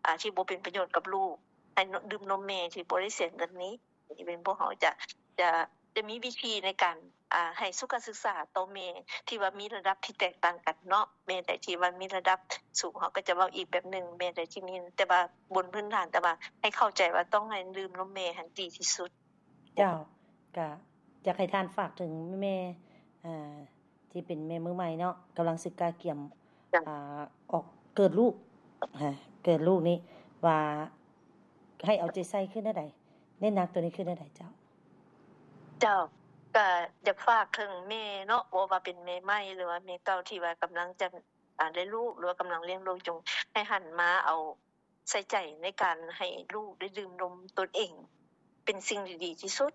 ອ່າ ທີ່ບໍ່ເປັນປະໂຫຍດກັບລູກ ໃຫ້ ນ- ດື່ມນົມແມ່ທີ່ບໍ່ໄດ້ເສຍເງິນນີ້. ນີ້ແມ່ນພວກເຮົາຈະ ຈະ ຈະມີວິທີໃນການ ອ່າ ໃຫ້ສຸຂະສຶກສາຕໍ່ແມ່ທີ່ວ່າມີລະດັບທີ່ແຕກຕ່າງກັນເນາະ. ແມ່ໃດທີ່ວ່າມີລະດັບສູງ ເຮົາກໍຈະເວົ້າອີກແບບໜຶ່ງ, ແມ່ໃດທີ່ມີ ແຕ່ວ່າບົນພື້ນຖານ ແຕ່ວ່າໃຫ້ເຂົ້າໃຈວ່າຕ້ອງໃຫ້ດື່ມນົມແມ່ຫັ້ນດີທີ່ສຸດ. ເຈົ້າ ກະຢາກໃຫ້ທ່ານຝາກເຖິງແມ່ ອ່າ ທີ່ເປັນແມ່ມືໃໝ່ເນາະ ກຳລັງສິກະກຽມ ເຈົ້າ ອ່າ ອອກເກີດລູກ ເກີດລູກນີ້ ວ່າໃຫ້ເອົາໃຈໃສ່ຄືແນວໃດ ເນັ້ນໜັກໂຕນີ້ຄືແນວໃດເຈົ້າ? ເຈົ້າ ກະຢາກຝາກເຖິງແມ່ເນາະ ບໍ່ວ່າເປັນແມ່ໃໝ່ ຫຼືວ່າແມ່ເກົ່າທີ່ວ່າກຳລັງຈະ ອ່າ ໄດ້ລູກ ຫຼືວ່າກຳລັງລ້ຽງລູກ ຈົ່ງໃຫ້ຫັນມາເອົາ ໃສ່ໃຈໃນການໃຫ້ລູກໄດ້ດື່ມນົມຕົນເອງ ເປັນສິ່ງທີ່ດີທີ່ສຸດ.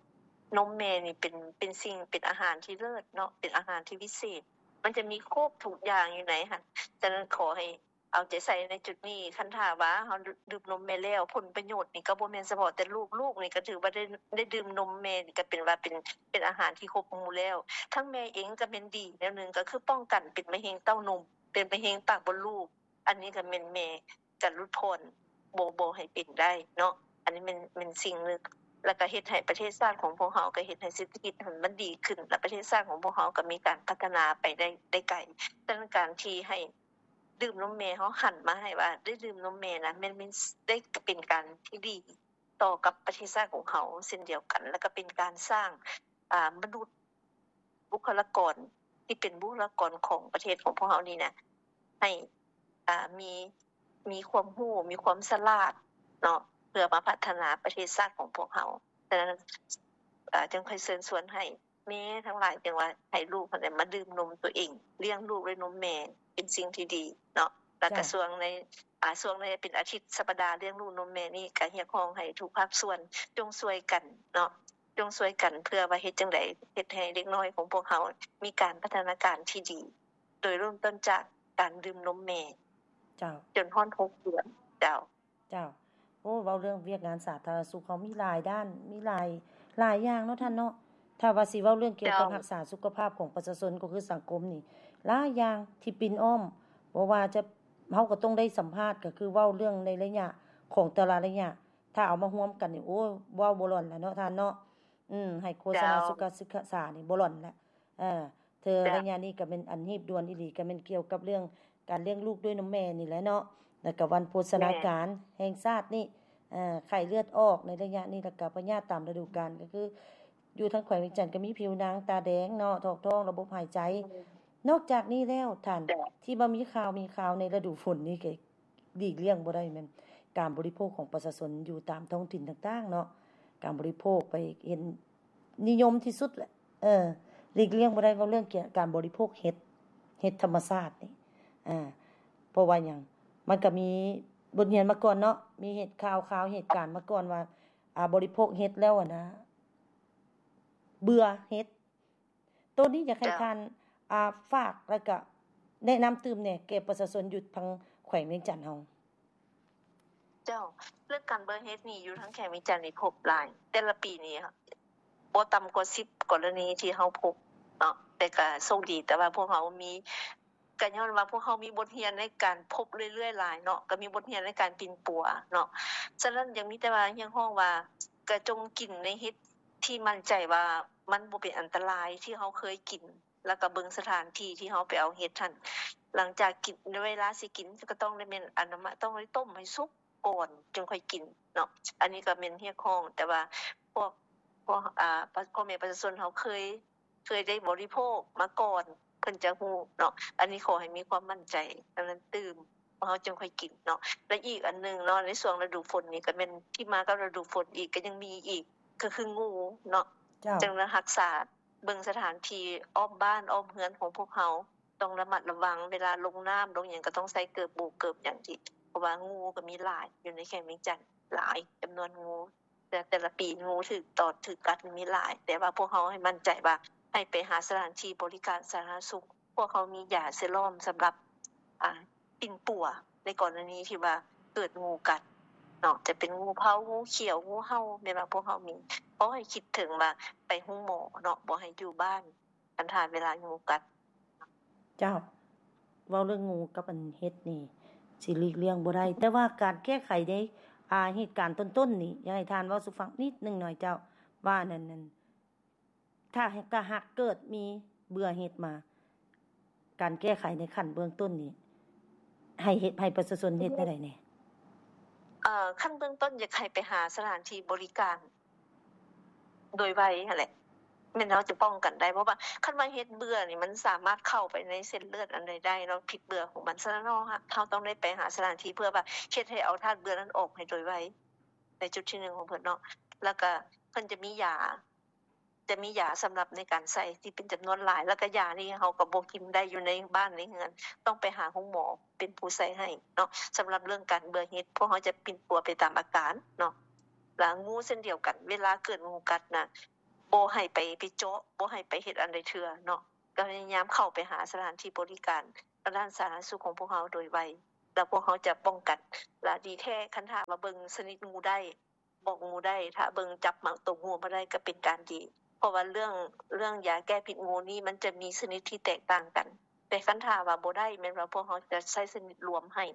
ນົມແມ່ນີ້ເປັນ ເປັນສິ່ງ ເປັນອາຫານທີ່ເລີດເນາະ ເປັນອາຫານທີ່ວິເສດ ມັນຈະມີຄົບທຸກຢ່າງຢູ່ໃນຫັ້ນ. ສະນັ້ນ ຂໍໃຫ້ເອົາໃຈໃສ່ໃນຈຸດນີ້. ຄັນຖ້າວ່າເຮົາດື່ມນົມແມ່ແລ້ວ ຜົນປະໂຫຍດນີ້ກໍບໍ່ແມ່ນສະເພາະແຕ່ລູກ, ລູກນີ້ກໍຖືວ່າໄດ້ ໄດ້ດື່ມນົມແມ່ນີ້ ກໍເປັນວ່າເປັນ ເປັນອາຫານທີ່ຄົບໝູ່ແລ້ວ. ທັງແມ່ເອງກໍແມ່ນດີແນວໜຶ່ງ ກໍຄືປ້ອງກັນເປັນມະເຮັງເຕົ້ານົມ ເປັນມະເຮັງປາກມົດລູກ. ອັນນີ້ກໍແມ່ນແມ່ກະຫຼຸດຜ່ອນ ບໍ່ ບໍ່ໃຫ້ເປັນໄດ້ເນາະ. ອັນນີ້ແມ່ນ ແມ່ນສິ່ງໜຶ່ງ ແລ້ວກະເຮັດໃຫ້ປະເທດຊາດຂອງພວກເຮົາ ກະເຮັດໃຫ້ເສດຖະກິດຫັ້ນມັນດີຂຶ້ນ ແລະ ປະເທດຊາດຂອງພວກເຮົາກະມີການພັດທະນາໄປໄດ້ ໄດ້ໄກ. ສະນັ້ນ ການທີ່ໃຫ້ດື່ມນົມແມ່ ເຮົາຫັນມາໃຫ້ວ່າໄດ້ດື່ມນົມແມ່ນະ ແມ່ນ ແມ່ນໄດ້ເປັນການທີ່ດີຕໍ່ກັບປະເທດຊາດຂອງເຮົາເຊັ່ນດຽວກັນ ແລ້ວກະເປັນການສ້າງ ອ່າ ມະນຸດ ບຸກຄະລາກອນທີ່ເປັນບຸກຄະລາກອນຂອງປະເທດຂອງພວກເຮົານີ້ນະ ໃຫ້ ອ່າ ມີ ມີຄວາມຮູ້ ມີຄວາມສະຫຼາດເນາະ ເພື່ອມາພັດທະນາປະເທດຊາດຂອງພວກເຮົາ. ສະນັ້ນ ເອີ ຈຶ່ງຄ່ອຍເຊີນຊວນໃຫ້ແມ່ທັງຫຼາຍ ຈຶ່ງວ່າໃຫ້ລູກຫັ້ນແຫຼະມາດື່ມນົມຕົວເອງ ລ້ຽງລູກດ້ວຍນົມແມ່ ເປັນສິ່ງທີ່ດີເນາະ. ແລ້ວກະ ເຈົ້າ ຊ່ວງໃນ ອ່າ ຊ່ວງໃນເປັນອາທິດ ສັບປະດາລ້ຽງລູກນົມແມ່ນີ້ ກະຮຽກຮ້ອງໃຫ້ທຸກພາກສ່ວນຈົ່ງຊ່ວຍກັນເນາະ ຈົ່ງຊ່ວຍກັນ ເພື່ອວ່າເຮັດຈັ່ງໃດເຮັດໃຫ້ເດັກນ້ອຍຂອງພວກເຮົາມີການພັດທະນາການທີ່ດີ ໂດຍເລີ່ມຕົ້ນຈາກການດື່ມນົມແມ່ ເຈົ້າ ຈົນຮອດຫົກເດືອນ. ເຈົ້າ ເຈົ້າ ໂອ້ ເວົ້າເລື່ອງວຽກງານສາທາລະນະສຸກ ເຮົາມີຫຼາຍດ້ານ ມີຫຼາຍ ຫຼາຍຢ່າງເນາະທ່ານເນາະ. ຖ້າວ່າຊິເວົ້າເລື່ອງກ່ຽວກັບ ເຈົ້າ ຮັກສາສຸຂະພາບຂອງປະຊາຊົນ ກໍຄືສັງຄົມນີ້ ຫຼາຍຢ່າງທີ່ປິ່ນອ້ອມ ບໍ່ວ່າຈະ ເຮົາກໍຕ້ອງໄດ້ສຳພາດ ກໍຄືເວົ້າເລື່ອງໃນໄລຍະຂອງແຕ່ລະໄລຍະ ຖ້າເອົາມາຮວມກັນນີ້ ໂອ້ ເວົ້າບໍ່ຫຼອນແລ້ວເນາະທ່ານເນາະ. ອືມ ໃຫ້ໂຄສະນາ ເຈົ້າ ສຸຂະສຶກສານີ້ບໍ່ຫຼອນແລ້ວ. ເອີ ເທື່ອ ເຈົ້າ ໄລຍະນີ້ກໍແມ່ນອັນຮີບດ່ວນອີ່ຫຼີ ກໍແມ່ນກ່ຽວກັບເລື່ອງການລ້ຽງລູກດ້ວຍນົມແມ່ນີ້ແຫຼະເນາະ ແລ້ວກໍວັນໂພຊະນາການ ແມ່ນ ແຫ່ງຊາດນີ້ ເອີ ໄຂ້ເລືອດອອກໃນໄລຍະນີ້ ແລ້ວກໍພະຍາດຕາມລະດູການ ກໍຄືຢູ່ທາງແຂວງວຽງຈັນກໍມີຜິວໜັງຕາແດງເນາະ ຖອກທ້ອງ ລະບົບຫາຍໃຈ. ອືມ ນອກຈາກນີ້ແລ້ວທ່ານ ເຈົ້າ ທີ່ວ່າມີຂ່າວ ມີຂ່າວໃນລະດູຝົນນີ້ກໍ ຫຼີກລ່ຽງບໍ່ໄດ້ແມ່ນການບໍລິໂພກຂອງປະຊາຊົນຢູ່ຕາມທ້ອງຖິ່ນຕ່າງໆເນາະ ການບໍລິໂພກໄປເຫັນນິຍົມທີ່ສຸດແຫຼະ. ເອີ ຫຼີກລ່ຽງບໍ່ໄດ້ເວົ້າເລື່ອງການບໍລິໂພກເຫັດ ເຫັດທຳມະຊາດນີ້ ເອີ ເພາະວ່າຫຍັງ ມັນກໍມີບົດຮຽນມາກ່ອນເນາະ ມີເຫດຂ່າວ ຂ່າວເຫດການມາກ່ອນວ່າ ອາ ບໍລິໂພກເຫັດແລ້ວຫັ້ນນະ ເບື່ອເຫັດ. ໂຕນີ້ຢາກໃຫ້ ເຈົ້າ ທ່ານ ອ່າ ຝາກ ແລ້ວກະແນະນຳຕື່ມແດ່ແກ່ປະຊາຊົນຢູ່ທາງແຂວງວຽງຈັນເຮົາ. ເຈົ້າ ເລື່ອງການເບື່ອເຫັດນີ້ຢູ່ທາງແຂວງວຽງຈັນນີ້ພົບຫຼາຍ ແຕ່ລະປີນີ້ບໍ່ຕ່ຳກວ່າສິບກໍລະນີທີ່ເຮົາພົບເນາະ ແຕ່ກະໂຊກດີ ແຕ່ວ່າພວກເຮົາມີ ກະຍ້ອນວ່າພວກເຮົາມີບົດຮຽນໃນການພົບເລື້ອຍໆຫຼາຍເນາະ ກະມີບົດຮຽນໃນການປິ່ນປົວເນາະ. ສະນັ້ນ ຍັງມີແຕ່ວ່າຮຽກຮ້ອງວ່າ ກະຈົ່ງກິນໃນເຫັດທີ່ໝັ້ນໃຈວ່າມັນບໍ່ເປັນອັນຕະລາຍ ທີ່ເຮົາເຄີຍກິນ ແລ້ວກະເບິ່ງສະຖານທີ່ທີ່ເຮົາໄປເອົາເຫັດຫັ້ນ. ຫຼັງຈາກກິນ ເວລາຊິກິນກະຕ້ອງໄດ້ແມ່ນ ອັນນັ້ນ ຕ້ອງໄດ້ຕົ້ມໃຫ້ສຸກ ກ່ອນຈຶ່ງຄ່ອຍກິນເນາະ. ອັນນີ້ກໍແມ່ນຮຽກຮ້ອງ ແຕ່ວ່າພວກ ພວກ ອ່າ ພໍ່ແມ່ປະຊາຊົນເຮົາເຄີຍ ເຄີຍໄດ້ບໍລິໂພກມາກ່ອນ ເພິ່ນຈະຮູ້ເນາະ. ອັນນີ້ຂໍໃຫ້ມີຄວາມໝັ້ນໃຈ ອັນນັ້ນຕື່ມ ພວກເຮົາຈຶ່ງຄ່ອຍກິນເນາະ. ແລະ ອີກອັນໜຶ່ງເນາະ ໃນຊ່ວງລະດູຝົນນີ້ກໍແມ່ນທີ່ມາກັບລະດູຝົນອີກ ກໍຍັງມີອີກ ກໍຄືງູເນາະ. ເຈົ້າ ຈຶ່ງລະຮັກສາ ເບິ່ງສະຖານທີ່ອ້ອມບ້ານອ້ອມເຮືອນຂອງພວກເຮົາ ຕ້ອງລະມັດລະວັງ ເວລາລົງນ້ຳລົງຫຍັງກໍຕ້ອງໃສ່ເກີບໂບກເກີບຫຍັງທີ່ ເພາະວ່າງູກໍມີຫຼາຍຢູ່ໃນແຂວງວຽງຈັນ ຫຼາຍຈຳນວນງູ ແຕ່ ແຕ່ລະປີງູຖືກຕອດຖືກກັດມີຫຼາຍ. ແຕ່ວ່າພວກເຮົາໃຫ້ໝັ້ນໃຈວ່າໃຫ້ໄປຫາສະຖານທີ່ບໍລິການສາທາລະນະສຸກ ພວກເຮົາມີຢາເຊຣອມສຳລັບ ອ່າ ປິ່ນປົວໃນກໍລະນີທີ່ວ່າເກີດງູກັດເນາະ ຈະເປັນງູເພົາ ງູຂຽວ ງູເຫົ່າ ແມ່ນວ່າພວກເຮົາມີ. ຂໍໃຫ້ຄິດເຖິງວ່າໄປໂຮງໝໍເນາະ ບໍ່ໃຫ້ຢູ່ບ້ານ ຄັນຖ້າເວລາງູກັດ. ເຈົ້າ ເວົ້າເລື່ອງງູກັບອັນເຫັດນີ້ຊິຫຼີກລ່ຽງບໍ່ໄດ້ ແຕ່ວ່າການແກ້ໄຂໃນ ອ່າ ເຫດການຕົ້ນໆນີ້ ຢາກໃຫ້ທ່ານເວົ້າສູ່ຟັງນິດໜຶ່ງໜ່ອຍເຈົ້າ ວ່ານັ້ນ ນັ້ນ ຖ້າຫາກ ຖ້າຫາກເກີດມີເບື່ອເຫັດມາ ການແກ້ໄຂໃນຂັ້ນເບື້ອງຕົ້ນນີ້ ໃຫ້ເຮັດ ໃຫ້ປະຊາຊົນເຮັດແນວໃດແດ່? ເອີ ຂັ້ນເບື້ອງຕົ້ນຢາກໃຫ້ໄປຫາສະຖານທີ່ບໍລິການໂດຍໄວຫັ້ນແຫຼະ ແມ່ນເຮົາຈະປ້ອງກັນໄດ້ ເພາະວ່າຄັນວ່າເຫັດເບື່ອນີ້ ມັນສາມາດເຂົ້າໄປໃນເສັ້ນເລືອດອັນໃດໄດ້ເນາະ ພິດເບື່ອຂອງມັນ. ສະນັ້ນເຮົາ ເຮົາຕ້ອງໄດ້ໄປຫາສະຖານທີ່ເພື່ອວ່າເຮັດໃຫ້ເອົາທາດເບື່ອນັ້ນອອກໃຫ້ໂດຍໄວ ໃນຈຸດທີໜຶ່ງຂອງເພິ່ນເນາະ. ແລ້ວກະເພິ່ນຈະມີຢາ ຈະມີຢາສຳລັບໃນການໃສ່ທີ່ເປັນຈຳນວນຫຼາຍ ແລ້ວກະຢານີ້ເຮົາກໍບໍ່ກິນໄດ້ຢູ່ໃນບ້ານໃນເຮືອນ ຕ້ອງໄປຫາໂຮງໝໍເປັນຜູ້ໃສ່ໃຫ້ເນາະ. ສຳລັບເລື່ອງການເບື່ອເຫັດ ພວກເຮົາຈະປິ່ນປົວໄປຕາມອາການເນາະ. ແລ້ວງູເຊັ່ນດຽວກັນ ເວລາເກີດງູກັດນະ ບໍ່ໃຫ້ໄປ ໄປເຈາະ ບໍ່ໃຫ້ໄປເຮັດອັນໃດເທື່ອເນາະ. ກໍພະຍາຍາມເຂົ້າໄປຫາສະຖານທີ່ບໍລິການທາງດ້ານສາທາລະນະສຸກຂອງພວກເຮົາໂດຍໄວ ແລ້ວພວກເຮົາຈະປ້ອງກັນ. ແລ້ວດີແທ້ ຄັນຖ້າວ່າເບິ່ງຊະນິດງູໄດ້ ບອກງູໄດ້ ຖ້າເບິ່ງຈັບມາຕົວງູມາໄດ້ກໍເປັນການດີ ເພາະວ່າເລື່ອງ ເລື່ອງຢາແກ້ພິດງູນີ້ ມັນຈະມີຊະນິດທີ່ແຕກຕ່າງກັນ. ແຕ່ຄັນຖ້າວ່າບໍ່ໄດ້ ແມ່ນວ່າພວກເຮົາຈະໃຊ້ຊະນິດລວມໃຫ້.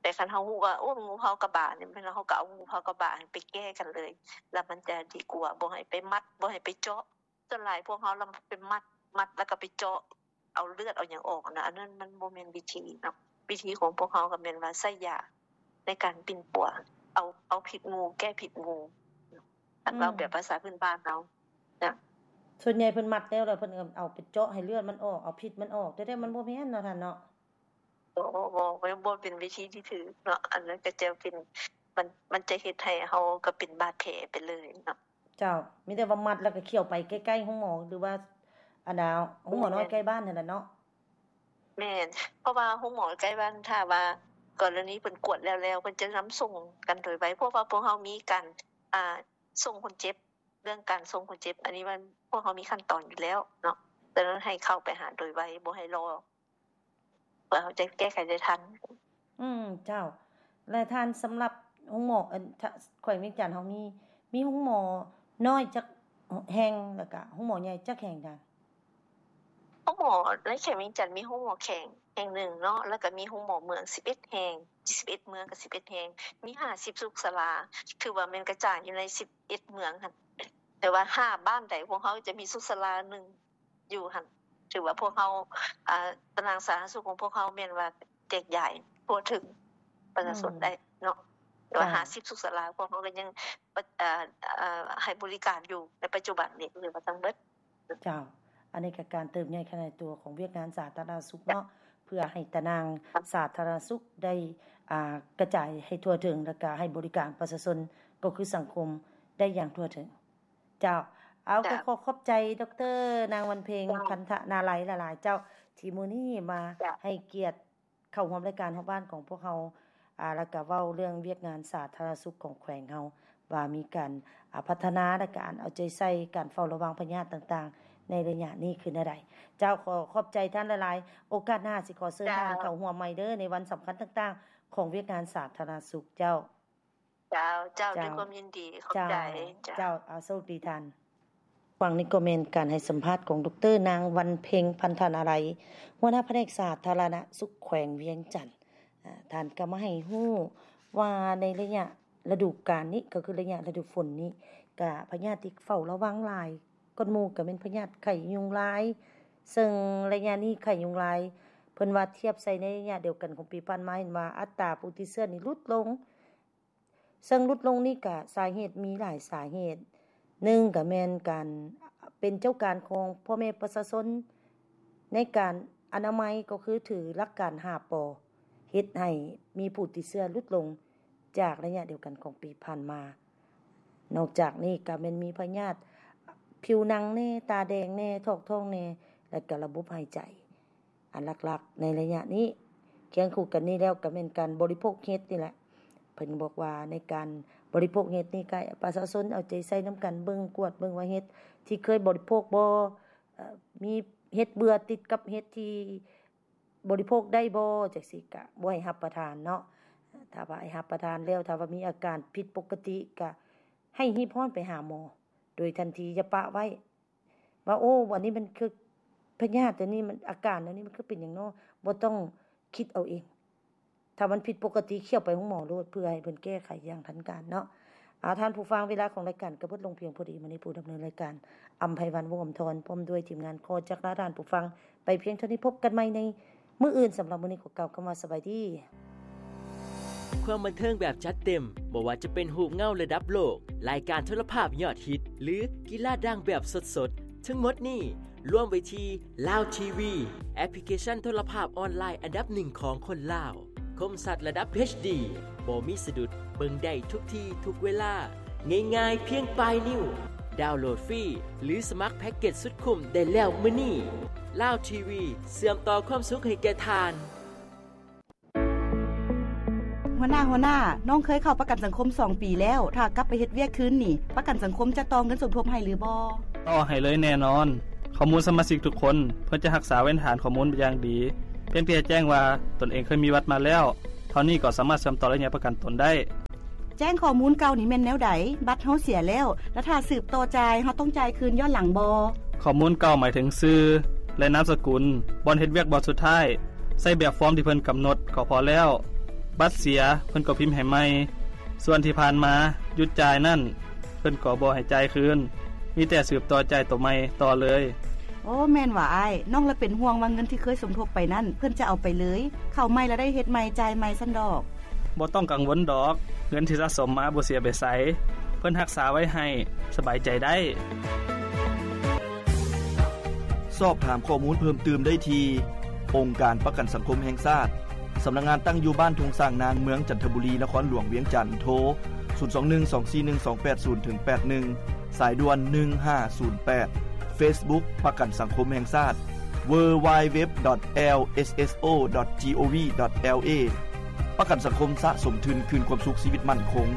ແຕ່ຄັນເຮົາຮູ້ວ່າ ໂອ້ ງູເຜົາກະບານີ້ ແມ່ນວ່າເຮົາກໍເອົາງູເຜົາກະບາໄປແກ້ກັນເລີຍ ແລ້ວມັນຈະດີກວ່າ. ບໍ່ໃຫ້ໄປມັດ ບໍ່ໃຫ້ໄປເຈາະ. ສ່ວນຫຼາຍພວກເຮົາລະໄປມັດ ມັດແລ້ວກໍໄປເຈາະເອົາເລືອດເອົາຫຍັງອອກນະ ອັນນັ້ນມັນບໍ່ແມ່ນວິທີເນາະ. ວິທີຂອງພວກເຮົາກໍແມ່ນວ່າໃຊ້ຢາໃນການປິ່ນປົວ ເອົາ ເອົາພິດງູ ແກ້ພິດງູ ຄັນເວົ້າແບບພາສາພື້ນບ້ານເຮົານະ. ສ່ວນໃຫຍ່ເພິ່ນມັດແລ້ວ ແລ້ວເພິ່ນກໍເອົາໄປເຈາະໃຫ້ເລືອດມັນອອກ ເອົາພິດມັນອອກ ແຕ່ ແຕ່ມັນບໍ່ແມ່ນເນາະທ່ານເນາະ. ບໍ່ ບໍ່ ບໍ່ ບໍ່ເປັນວິທີທີ່ຖືກເນາະ. ອັນນັ້ນກໍຈະເປັນ ມັນ ມັນຈະເຮັດໃຫ້ເຮົາກໍເປັນບາດແຜໄປເລີຍເນາະ. ເຈົ້າ ມີແຕ່ວ່າມັດແລ້ວກໍຂ້ຽວໄປໃກ້ໆໂຮງໝໍ ຫຼືວ່າອັນນ່າ ໂຮງໝໍນ້ອຍໃກ້ບ້ານຫັ້ນແຫຼະເນາະ. ແມ່ນ ເພາະວ່າໂຮງໝໍໃກ້ບ້ານ ຖ້າວ່າກໍລະນີເພິ່ນກວດແລ້ວ ແລ້ວເພິ່ນຈະນຳສົ່ງກັນໂດຍໄວ ເພາະວ່າພວກເຮົາມີການ ອ່າ ສົ່ງຄົນເຈັບ ເລື່ອງການສົ່ງຄົນເຈັບ ອັນນີ້ມັນ ພວກເຮົາມີຂັ້ນຕອນຢູ່ແລ້ວເນາະ. ສະນັ້ນໃຫ້ເຂົ້າໄປຫາໂດຍໄວ ບໍ່ໃຫ້ລໍ ເພື່ອເຮົາຈະແກ້ໄຂໄດ້ທັນ. ອືມ ເຈົ້າ ແລະທ່ານ ສຳລັບໂຮງໝໍ ອັນ ແຂວງວຽງຈັນເຮົາມີ ມີໂຮງໝໍນ້ອຍຈັກແຫ່ງ ແລ້ວກະໂຮງໝໍໃຫຍ່ຈັກແຫ່ງທ່ານ? ໂຮງໝໍໃນແຂວງວຽງຈັນມີໂຮງໝໍແຂວງແຫ່ງໜຶ່ງເນາະ ແລ້ວກະມີໂຮງໝໍເມືອງສິບເອັດແຫ່ງ ສິບເອັດເມືອງກັບສິບເອັດແຫ່ງ ມີຫ້າສິບສຸກສາລາ ຖືວ່າແມ່ນກະຈາຍຢູ່ໃນສິບເອັດເມືອງຫັ້ນ ແຕ່ວ່າຫ້າບ້ານໃດພວກເຮົາຈະມີສຸກສາລາໜຶ່ງ ຢູ່ຫັ້ນ ຖືວ່າພວກເຮົາ ອ່າ ຕາລາງສາທາລະນະສຸກຂອງພວກເຮົາແມ່ນວ່າແຈກຢາຍທົ່ວເຖິງປະຊາຊົນໄດ້ເນາະ. ແຕ່ວ່າຫ້າສິບສຸກສາລາ ພວກເຮົາກໍຍັງ ເອີ ເອີ ໃຫ້ບໍລິການຢູ່ໃນປັດຈຸບັນນີ້ ຫຼືວ່າທັງເບິດ. ເຈົ້າ ອັນນີ້ກໍການເຕີບໃຫຍ່ຂະຫຍາຍຕົວຂອງວຽກງານສາທາລະນະສຸກເນາະ ເພື່ອໃຫ້ຕາລາງສາທາລະນະສຸກໄດ້ ອ່າ ກະຈາຍໃຫ້ທົ່ວເຖິງ ແລ້ວກໍໃຫ້ບໍລິການປະຊາຊົນ ກໍຄືສັງຄົມໄດ້ຢ່າງທົ່ວເຖິງ. ເຈົ້າ ເອົາ ເຈົ້າ ກໍຂໍຂອບໃຈ ດຣ ນາງວັນເພັງ ເຈົ້າ ພັນທະນາໄລ ຫຼາຍໆ ເຈົ້າ ທີ່ມື້ນີ້ມາ ເຈົ້າ ໃຫ້ກຽດເຂົ້າຮ່ວມລາຍການຮອບບ້ານຂອງພວກເຮົາ ອ່າ ແລ້ວກະເວົ້າເລື່ອງວຽກງານສາທາລະນະສຸກຂອງແຂວງເຮົາ ວ່າມີການ ອ່າ ພັດທະນາ ແລະກະການເອົາໃຈໃສ່ ການເຝົ້າລະວັງພະຍາດຕ່າງໆ ໃນໄລຍະນີ້ຄືແນວໃດ. ເຈົ້າ ຂໍຂອບໃຈທ່ານຫຼາຍໆ ໂອກາດໜ້າຊິຂໍເຊີນ ເຈົ້າ ທ່ານເຂົ້າຮ່ວມໃໝ່ເດີ້ ໃນວັນສຳຄັນຕ່າງໆ ຂອງວຽກງານສາທາລະນະສຸກເຈົ້າ. ເຈົ້າ ເຈົ້າ ເຈົ້າ ດ້ວຍຄວາມຍິນດີ ຂອບໃຈ ເຈົ້າ ເຈົ້າ ເຈົ້າ ເອົາ ໂຊກດີທ່ານ. ຟັງນີ້ກໍແມ່ນການໃຫ້ສຳພາດຂອງ ດຣ ນາງ ວັນເພັງ ພັນທະນາໄລ ຫົວໜ້າພະແນກສາທາລະນະສຸກແຂວງວຽງຈັນ. ອາ ທ່ານກໍມາໃຫ້ຮູ້ວ່າໃນໄລຍະລະດູການນີ້ ກໍຄືໄລຍະລະດູຝົນນີ້ ກະພະຍາດທີ່ເຝົ້າລະວັງຫຼາຍ ກ່ອນໝູ່ກໍແມ່ນພະຍາດໄຂ້ຍຸງລາຍ ເຊິ່ງໄລຍະນີ້ໄຂ້ຍຸງລາຍເ ພິ່ນວ່າທຽບໃສ່ໃນໄລຍະດຽວກັນຂອງປີຜ່ານມາ ເຫັນວ່າອັດຕາຜູ້ຕິດເຊື້ອນີ້ຫຼຸດລົງ. ເຊິ່ງຫຼຸດລົງນີ້ກະສາເຫດມີຫຼາຍສາເຫດ. ໜຶ່ງກະແມ່ນການເປັນເຈົ້າການຂອງພໍ່ແມ່ປະຊາຊົນໃນການອະນາໄມ ກໍຄືຖືຫຼັກການຫ້າ ປ ເຮັດໃຫ້ມີຜູ້ຕິດເຊື້ອຫຼຸດລົງຈາກໄລຍະດຽວກັນຂອງປີຜ່ານມາ. ນອກຈາກນີ້ກະແມ່ນມີພະຍາດຜິວໜັງແດ່, ຕາແດງແດ່, ຖອກທ້ອງແດ່ ແລະກະລະບົບຫາຍໃຈ. ອັນຫຼັກໆໃນໄລຍະນີ້ ຄຽງຄູ່ກັນນີ້ແລ້ວກໍແມ່ນການບໍລິໂພກເຫັດນີ້ແຫຼະ. ເພິ່ນບອກວ່າໃນການບໍລິໂພກເຫັດນີ້ ກໍປະຊາຊົນເອົາໃຈໃສ່ນຳກັນເບິ່ງ, ກວດເບິ່ງວ່າເຫັດທີ່ເຄີຍບໍລິໂພກບໍ່, ເອີ ມີເຫັດເບື່ອຕິດກັບເຫັດທີ່ບໍລິໂພກໄດ້ບໍ່ ຈັ່ງຊີ້ ກະບໍ່ໃຫ້ຮັບປະທານເນາະ. ຖ້າວ່າໃຫ້ຮັບປະທານແລ້ວ ຖ້າວ່າມີອາການຜິດປົກກະຕິ ກະໃຫ້ຮີບຮ້ອນໄປຫາໝໍໂດຍທັນທີ, ຢ່າປະໄວ້. ວ່າ ໂອ້ ອັນນີ້ມັນຄືພະຍາດ ອັນນີ້ມັນ ອາການອັນນີ້ມັນຄືເປັນຫຍັງນໍ? ບໍ່ຕ້ອງຄິດເອົາເອງ. ຖ້າມັນຜິດປົກກະຕິ ຂ້ຽວໄປໂຮງໝໍໂລດ ເພື່ອໃຫ້ເພິ່ນແກ້ໄຂຢ່າງທັນການເນາະ. ອາ ທ່ານຜູ້ຟັງ, ເວລາຂອງລາຍການກໍເບິດລົງພຽງພໍດີ. ມື້ນີ້ຜູ້ດຳເນີນລາຍການ ອຳໄພວັນ ວົງອຳທອນ ພ້ອມດ້ວຍທີມງານ ຂໍຈັກລາທ່ານຜູ້ຟັງໄປພຽງເທົ່ານີ້. ພົບກັນໃໝ່ໃນມື້ອື່ນ. ສຳລັບມື້ນີ້ ຂໍກ່າວຄຳວ່າສະບາຍດີ. ຄວາມບັນເທີງແບບຈັດເຕັມ, ບໍ່ວ່າຈະເປັນຮູບເງົາລະດັບໂລກ, ລາຍການໂທລະພາບຍອດຮິດ ຫຼື ກິລາດັງແບບສົດໆ, ທັງໝົດນີ້ລວມໄວ້ທີ່ລາວທີວີ, ແອັບພລິເຄຊັນໂທລະພາບອອນລາຍອັນດັບໜຶ່ງຂອງຄົນລາວ. ຄົມຊັດລະດັບເອັດດີ ບໍ່ມີສະດຸດ, ເບິ່ງໄດ້ທຸກທີ່ທຸກເວລາ, ງ່າຍໆພຽງປາຍນິ້ວ. ດາວໂຫຼດຟຣີ ຫຼື ສະໝັກແພັກເກັດສຸດຄຸ້ມໄດ້ແລ້ວມື້ນີ້. ລາວທີວີ ເຊື່ອມຕໍ່ຄວາມສຸກໃຫ້ແກ່ທ່ານ. ຫົວໜ້າ, ຫົວໜ້າ, ນ້ອງເຄີຍເຂົ້າປະກັນສັງຄົມສອງປີແລ້ວ. ຖ້າກັບໄປເຮັດວຽກຄືນນີ້ ປະກັນສັງຄົມຈະຕໍ່ເງິນສົມທົບໃຫ້ຫຼືບໍ່? ຕໍ່ໃຫ້ເລີຍແນ່ນອນ. ຂໍ້ມູນສະມາຊິກທຸກຄົນ ເພິ່ນຈະຮັກສາໄວ້ໃນຖານຂໍ້ມູນຢ່າງດີ. ພຽງແຕ່ແຈ້ງວ່າຕົນເອງເຄີຍມີບັດມາແລ້ວ ເທົ່ານີ້ກໍສາມາດເຊື່ອມຕໍ່ໄລຍະປະກັນຕົນໄດ້. ແຈ້ງຂໍ້ມູນເກົ່ານີ້ແມ່ນແນວໃດ? ບັດເຮົາເສຍແລ້ວ ແລະ ຖ້າສືບຕໍ່ຈ່າຍ ເຮົາຕ້ອງຈ່າຍຄືນຍ້ອນຫຼັງບໍ່? ຂໍ້ມູນເກົ່າໝາຍເຖິງຊື່ ແລະ ນາມສະກຸນ, ບ່ອນເຮັດວຽກບ່ອນສຸດທ້າຍ. ໃຊ້ແບບຟອມທີ່ເພິ່ນກຳນົດກໍພໍແລ້ວ. ບັດເສຍ ເພິ່ນກໍພິມໃຫ້ໃໝ່. ສ່ວນທີ່ຜ່ານມາຢຸດຈ່າຍນັ້ນ ເພິ່ນກໍບໍ່ໃຫ້ຈ່າຍຄືນ, ມີແຕ່ສືບຕໍ່ຈ່າຍໂຕໃໝ່ຕໍ່ເລີຍ. ໂອ້ ແມ່ນຫວາອ້າຍ. ນ້ອງລະເປັນຫ່ວງວ່າເງິນທີ່ເຄີຍສົມທົບໄປນັ້ນ ເພິ່ນຈະເອົາໄປເລີຍ, ເຂົ້າໃໝ່ລະໄດ້ເຮັດໃໝ່, ຈ່າຍໃໝ່ຊັ້ນດອກ. ບໍ່ຕ້ອງກັງວົນດອກ, ເງິນທີ່ສະສົມມາບໍ່ເສຍໄປໃສ, ເພິ່ນຮັກສາໄວ້ໃຫ້, ສະບາຍໃຈໄດ້. ສອບຖາມຂໍ້ມູນເພີ່ມຕື່ມໄດ້ທີ່ ອົງການປະກັນສັງຄົມແຫ່ງຊາດ, ສຳນັກງານຕັ້ງຢູ່ບ້ານທົ່ງຊ້າງນາງ, ເມືອງຈັນທະບູລີ, ນະຄອນຫຼວງວຽງຈັນ, ໂທ ສູນສອງໜຶ່ງ ສອງສີ່ໜຶ່ງ ສອງແປດສູນ ເຖິງ ແປດໜຶ່ງ, ສາຍດ່ວນ ໜຶ່ງຫ້າສູນແປດ, Facebook ປະກັນສັງຄົມແຫ່ງຊາດ www.lsso.gov.la. ປະກັນສັງຄົມສະສົມທຶນຄືນຄວາມສຸກຊີວິດໝັ້ນຄົງ.